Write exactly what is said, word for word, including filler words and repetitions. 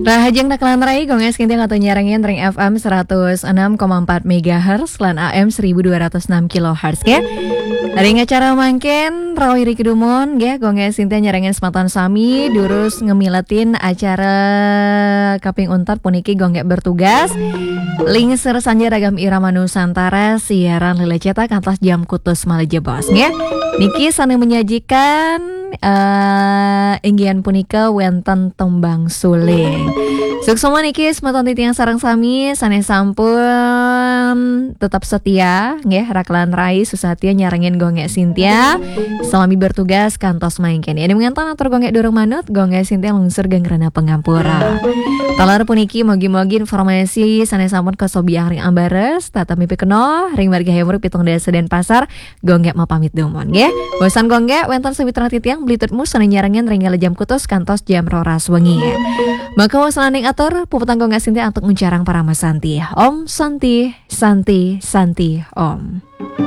Rahajeng Nak Lantrai, Gung Ais Kinting atau nyarengin ring F M seratus enam koma empat megahertz lan A M seribu dua ratus enam kilohertz, ya. Ring acara mangkin, rawi ri kedumon, nggih, Gung Ais Kinting nyarengin semeton sami, durus ngemiletin acara kaping untat puniki Gung Gek bertugas. Lingsir sanja ragam irama Nusantara, siaran lelecetan kantos jam kutus malih jebos, nggih. Niki sane menyajikan eh inggian punika wenten tembang suling. Suksma niki semeton titiang sareng sami sane sampun tetap setia nggih, Rak lan Rai susatya nyarengin Gung Gek Sintia. Selami bertugas kantos mangkin. Yen mengantan atur Gung Gek durung manut, Gung Gek Sintia lungsur geng rena pangampura. Taler puniki mogi-mogi informasi sane sampun kasobiang ring ambares, tata mipi keno ring margi Hayam Wuruk pitung dasa Denpasar, Gung Gek mapamit dumun, nggih. Bosan Gung Gek, wenten sawitra titiang, beli tutmu sane nyarengin ring jam kutus kantos jam roras wengi. Maka wasananing atur, puputang Gung Gek Sintia antuk nguncarang parama santi. Om Santi, Santi, Santi, Om.